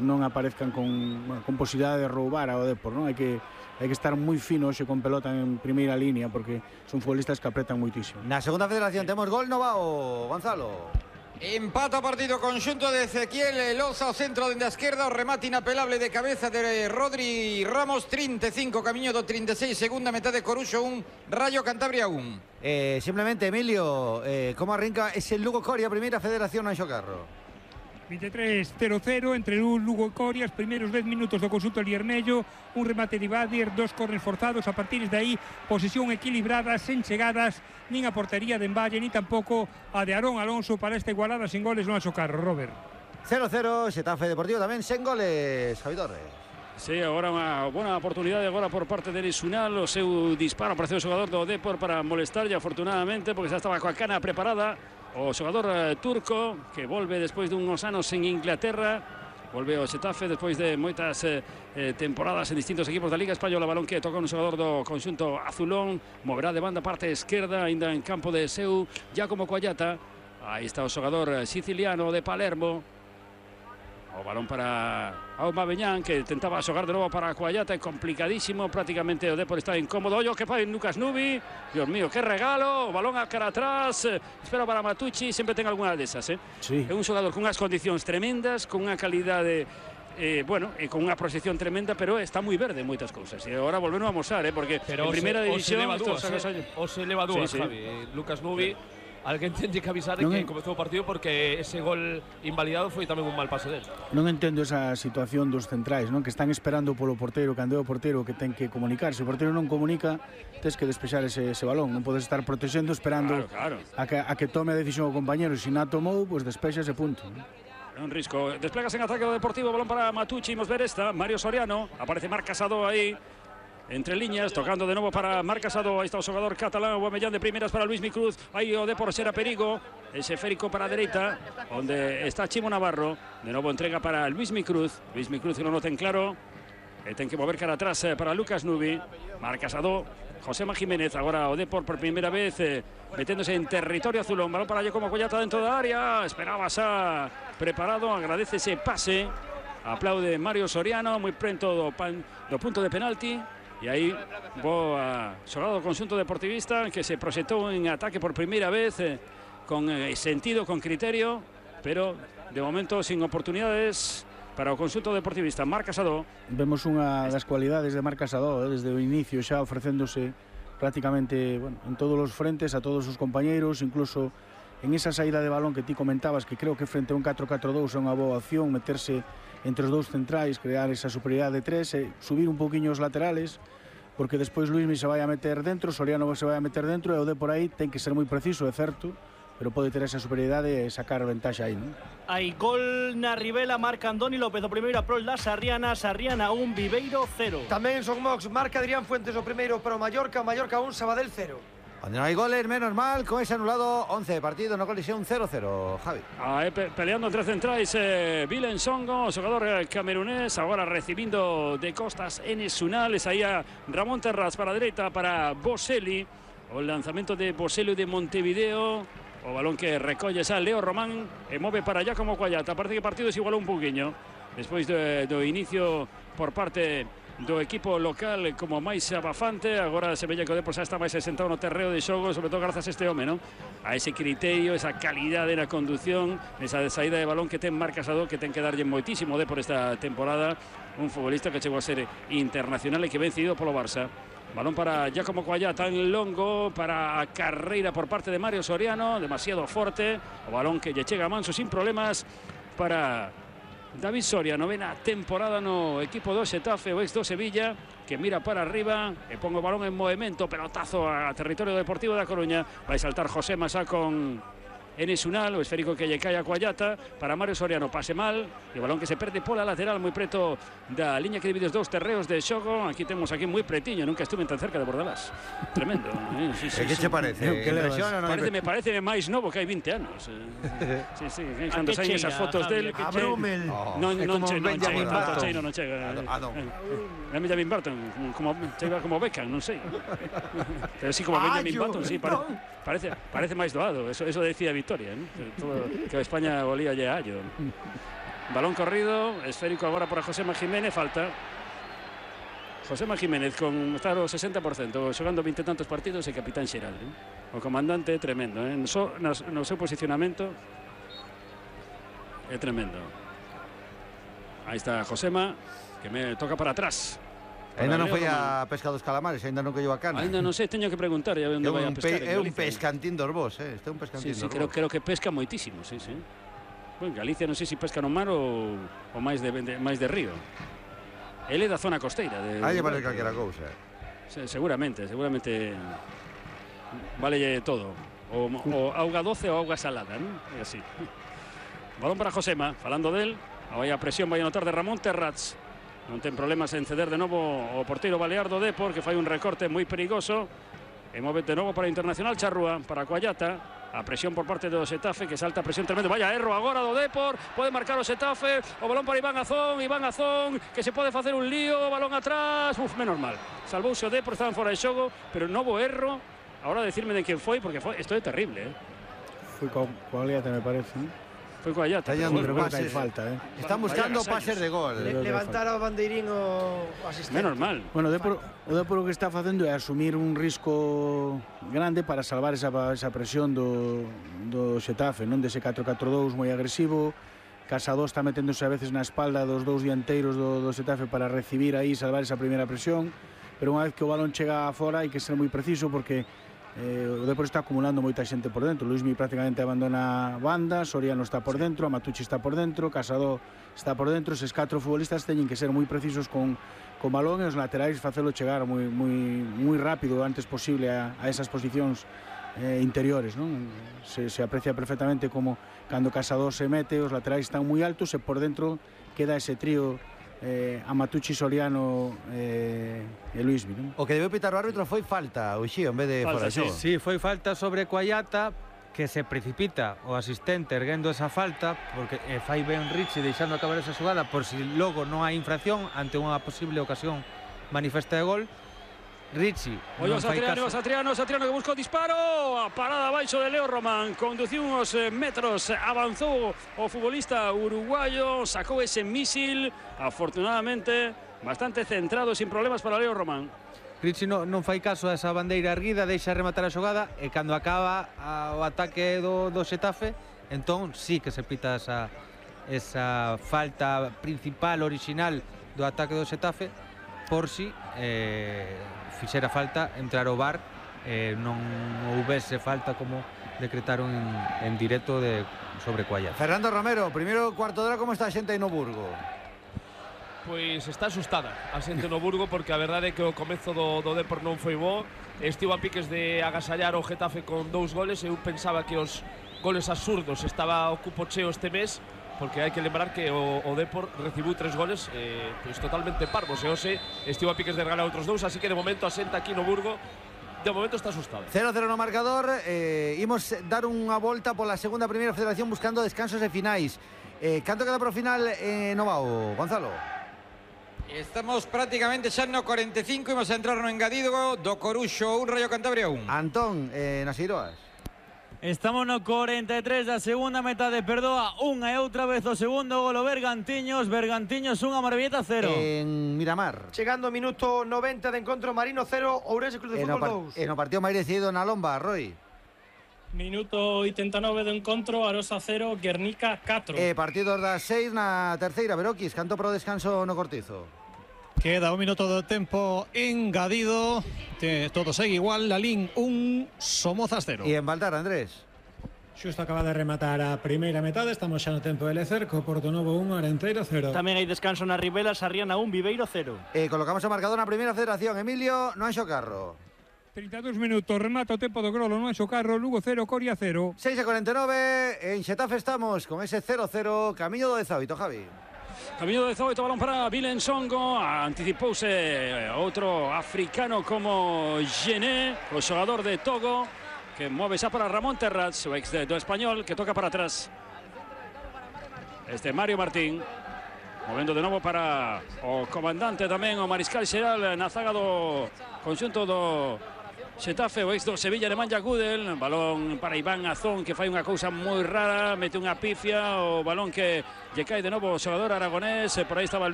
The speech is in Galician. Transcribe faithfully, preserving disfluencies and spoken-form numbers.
non aparezcan con, bueno, con posibilidade de roubar ao Depor, non? Hai que hai que estar moi fino hoxe con pelota en primeira línea porque son futbolistas que apretan moitísimo. Na segunda federación temos gol Novao, Gonzalo. Empata partido conxunto de Ezequiel Loza, o centro dende a esquerda, o remate inapelable de cabeza de Rodri Ramos. Trinta e cinco, camiño do trinta e seis, segunda metade, Coruxo un, Rayo Cantabria un. Eh, simplemente, Emilio, eh, como arrinca ese Lugo Coria, primeira federación Anxo Carro? vinte e tres cero cero entre Lugo e Coria, os primeiros dez minutos do conxunto liermello, un remate de Badir, dos corners forzados, a partir de aí posesión equilibrada, sen chegadas nin a portería de Emballe, ni tampouco a de Aarón Alonso para esta igualada sin goles no Anxo Carro, Robert. cero cero, Xetafe Deportivo tamén sen goles, Javi Torres. Sí, agora unha boa oportunidade agora por parte de Enes Unal, o seu disparo para o xogador do Depor para molestar, e afortunadamente, porque xa estaba coa cana preparada, o xogador eh, turco, que volve despois dunhos anos en Inglaterra, volve ao Xetafe despois de moitas eh, eh, temporadas en distintos equipos da Liga Española. Balón que toca un xogador do conxunto azulón, moverá de banda parte esquerda, ainda en campo de seu, Giacomo Coallata. Aí está o xogador siciliano de Palermo. O balón para Aubameyang, que tentaba xogar de novo para Coallata, é complicadísimo, prácticamente o Depor está incómodo. Ollo que fai Lucas Nubi, Dios mío, que regalo, o balón a cara atrás, espera para Matucci, sempre ten algunha desas, eh? Sí. É un xogador con unhas condicións tremendas, con unha calidade, eh, bueno, e con unha proxección tremenda, pero está moi verde en moitas cousas, e agora volvemos a amosar, eh? Porque pero en primeira se, división o se leva dúas, eh? o se leva dúas, sí, sí. Javi, Lucas Nubi. Alguén ten que avisar de non que en... comezou o partido porque ese gol invalidado foi tamén un mal pase del. Non entendo esa situación dos centrais, non? Que están esperando polo porteiro, cando é o porteiro que ten que comunicar. Se o porteiro non comunica, tes que despexar ese, ese balón. Non podes estar protexendo esperando claro, claro. A, que, a que tome a decisión o compañero. Se non a tomou, pois despexa ese punto, non? Un risco. Desplegas en ataque do Deportivo, balón para Matucci, imos ver esta, Mario Soriano, aparece Marc Casado aí, entre líneas, tocando de novo para Marc Casado. Aí está o xogador catalán, Aubameyang de primeiras para Luismi Cruz. Aí o Depor xera perigo, ese férico para a dereita, onde está Chimo Navarro. De novo entrega para Luismi Cruz. Luismi Cruz que non o ten claro, e ten que mover cara atrás para Lucas Nubi. Marc Casado, Josema Jiménez, agora o Depor por primeira vez eh, meténdose en territorio azulón. Balón para Giacomo Coallata dentro da área, esperaba xa preparado, agradece ese pase, aplaude Mario Soriano, moi prento do, pan, do punto de penalti. E aí, boa xogada do conxunto deportivista, que se proxectou en ataque por primeira vez, eh, con eh, sentido, con criterio, pero de momento sin oportunidades para o conxunto deportivista. Marc Casado. Vemos unha das cualidades de Marc Casado, eh, desde o inicio xa ofrecéndose prácticamente, bueno, en todos os frentes a todos os compañeiros, incluso en esa saída de balón que ti comentabas, que creo que frente a un catro catro dous é unha boa opción, meterse entre os dous centrais, crear esa superioridade de tres, e subir un poquinho os laterales, porque despois Luismi se vai a meter dentro, Soriano se vai a meter dentro, e o de por aí ten que ser moi preciso, é certo, pero pode ter esa superioridade e sacar ventaxa aí, non? Hai gol na Ribela, marca Andoni López o primeiro a prol da Sarriana, Sarriana un, Viveiro cero. Tamén son Mox, marca Adrián Fuentes o primeiro para o Mallorca, Mallorca un, Sabadell cero. Onde non hai goles, menos mal, con ese anulado once de partido, no colisión cero cero, Javi. Aí pe peleando entre centrais, eh, Vilen Songo, xogador eh, camerunés, agora recibindo de costas Enes Unal, aí a Ramón Terraz para a dereita, para Boselli, o lanzamento de Boselli de Montevideo, o balón que recolle xa Leo Román e move para Giacomo Coallata. Parece que o partido se igualou un poquinho despois do, do inicio por parte do equipo local como máis abafante. Agora se vella que o Depor xa está máis asentado no terreo de xogo, sobre todo grazas a este home, non? A ese criterio, esa calidade na condución, esa saída de balón que ten Marc Casado, que ten que darlle moitísimo de por esta temporada, un futbolista que chegou a ser internacional e que ven cedido polo Barça. Balón para Giacomo Coallata en longo, para a carreira por parte de Mario Soriano, demasiado forte, o balón que lle chega a manso sin problemas para David Soria, novena temporada no equipo do Xetafe, o ex do Sevilla, que mira para arriba e pon o balón en movimento, pelotazo a territorio deportivo da Coruña. Vai saltar José Masá con Enes Unal, o esférico que lle cae a Coallata para Mario Soriano, pase mal, e o balón que se perde pola lateral moi preto da liña que divide os dous terreos de xogo. Aquí temos aquí moi pretiño, nunca estuve tan cerca de Bordalás. Tremendo, eh? Sí, sí, que sí. che parece? Que Impresiona, non? Parece, me parece máis novo que hai vinte anos. Eh. Sí, sí, cando saen esas fotos del que A Brummel. Oh, non é non como che non chega Benjamin tanto, Button. cheino non chega. Ah, non. É Benjamin Button, como chega como Beckham, non sei. Pero sí como Benjamin Button, sí, pare, parece parece máis doado. Eso eso decía Victoria, ¿no? Que, todo, que España olía ya a allo. balón corrido, esférico agora para Josema Jiménez, falta. Josema Jiménez con estar o sesenta por cento, xogando vinte tantos partidos e capitán xeral, eh? O comandante é tremendo, eh? no, so, no, no seu posicionamento é tremendo. Aí está Josema, que me toca para atrás. Ainda non foi a pesca dos calamares, ainda non colleu a cana. Ainda non sei, teño que preguntar a onde vai a pescar. É un pescantín dos vos, eh? Este é un pescantín sí, sí, dos creo, vos. creo que pesca moitísimo, sí, sí. Bueno, Galicia non sei se pesca no mar ou, ou máis, de, de, máis de río. Ele é da zona costeira. De, Aí vale calquera cousa. Se, seguramente, seguramente vale todo. O, o auga doce ou auga salada, non? É así. Balón para Josema, falando del. Vai a presión, vai a notar de Ramón Terrats. Non ten problemas en ceder de novo o porteiro balear do Depor, que fai un recorte moi perigoso. E move de novo para Internacional Charrúa, para Coallata. A presión por parte do Xetafe, que salta a presión tremendo. Vaya erro agora do Depor, pode marcar o Xetafe. O balón para Iván Azón, Iván Azón, que se pode facer un lío, balón atrás. Uf, menos mal. Salvouse o Depor, estaban fora de xogo, pero novo erro. Ahora decirme de quen foi, porque foi, isto é terrible, eh. Foi co Coallata, me parece, ¿no? Foi Coallata. Pero Pero creo que hai falta, eh. Están buscando pases de gol. Le, levantar o bandeirín o asistente. Menos mal. Bueno, o Depor, o Depor o que está facendo é asumir un risco grande para salvar esa, esa presión do, do Xetafe, non dese catro catro dous moi agresivo. Casado está meténdose a veces na espalda dos dous dianteiros do, do Xetafe para recibir aí, salvar esa primeira presión, pero unha vez que o balón chega fora hai que ser moi preciso porque Eh, o Depor está acumulando moita xente por dentro. Luismi prácticamente abandona banda, Soriano está por dentro, Amatucci está por dentro, Casado está por dentro. Eses catro futbolistas teñen que ser moi precisos con, con balón e os laterais facelo chegar moi, moi, moi rápido o antes posible a, a esas posicións eh, interiores, non? Se, se aprecia perfectamente como cando Casado se mete, os laterais están moi altos e por dentro queda ese trío eh, Amatucci, Soriano eh, e Luismi, non? O que debeu pitar o árbitro foi falta, o Xío, en vez de Falta, fora de xogo. Sí, foi falta sobre Coallata, que se precipita o asistente erguendo esa falta, porque eh, fai ben Richie deixando acabar esa xogada por si logo non hai infracción ante unha posible ocasión manifesta de gol. Richie Oye, non fai Satriano, caso. Satriano, Satriano que buscou disparo. A parada abaixo de Leo Román. Conduciu uns metros, avanzou o futbolista uruguayo, sacou ese mísil. Afortunadamente, bastante centrado, sin problemas para Leo Román. Richie non, non fai caso a esa bandeira erguida, deixa rematar a xogada e cando acaba a, o ataque do, do Xetafe, entón sí que se pita esa, esa falta principal, original do ataque do Xetafe, por si eh, fixera falta entrar ao V A R, eh, non houvese falta como decretaron en, en directo de, sobre Coallata. Fernando Romero, primeiro cuarto de hora, como está a xente aí no Burgo? Pois está asustada a xente no Burgo, porque a verdade é que o comezo do, do Depor non foi bo. Estivo a piques de agasallar o Getafe con dous goles. Eu pensaba que os goles absurdos estaba o cupo cheo este mes, porque hai que lembrar que o, o Depor recibiu tres goles eh, pois totalmente parvos, e hoxe estivo a piques de regalar outros dous, así que de momento a xente aquí no Burgo de momento está asustada. cero cero no marcador. eh, Imos dar unha volta pola segunda primeira federación buscando descansos e finais. eh, Canto queda pro final eh, no Vao, Gonzalo? Estamos prácticamente xa no cuarenta e cinco, imos a entrar no engadido do Coruxo un, Rayo Cantabria un. Antón, eh, nas Iroas. Estamos no cuarenta e tres da segunda metade, perdoa unha e outra vez o segundo gol o Bergantiños, Bergantiños unha, Marbelleta cero. En Miramar. Chegando ao minuto noventa de encontro, Marino cero, Ourense Club de E no, Fútbol par dous. e no partido máis decidido na Lomba, Roy. Minuto oitenta e nove do encontro, Arosa cero, Guernica catro. E partidos das seis na terceira, Beroquis, canto pro descanso no Cortizo. Queda un minuto do tempo engadido. Que todo segue igual, Lalín un, Somozas cero. E en Baltar, Andrés. Xusto acaba de rematar a primeira metade, estamos xa no tempo de lecer, co Porto Novo un, Arenteiro cero. Tamén hai descanso na Ribela, Sarriana un, Viveiro cero. E colocamos o marcador na primeira federación. Emilio, no Anxo Carro. trinta e dous minutos, remata o tempo do Grolo, no Anxo Carro, Lugo cero, Coria cero. seis e cuarenta e nove, en Xetafe estamos con ese cero cero, camiño do dezaoito, Javi. Camiño de dezaoito, balón para Vilen Songo. Anticipouse outro africano como Gené, o xogador de Togo, que move xa para Ramón Terrats, o ex do Español, que toca para atrás. Este Mario Martín, movendo de novo para o comandante tamén, o mariscal xeral na zaga do conxunto do Xetafe, o ex do Sevilla de Manja Gudel, balón para Iván Azón, que fai unha cousa moi rara, mete unha pifia, o balón que lle cae de novo o xogador aragonés, por aí estaba el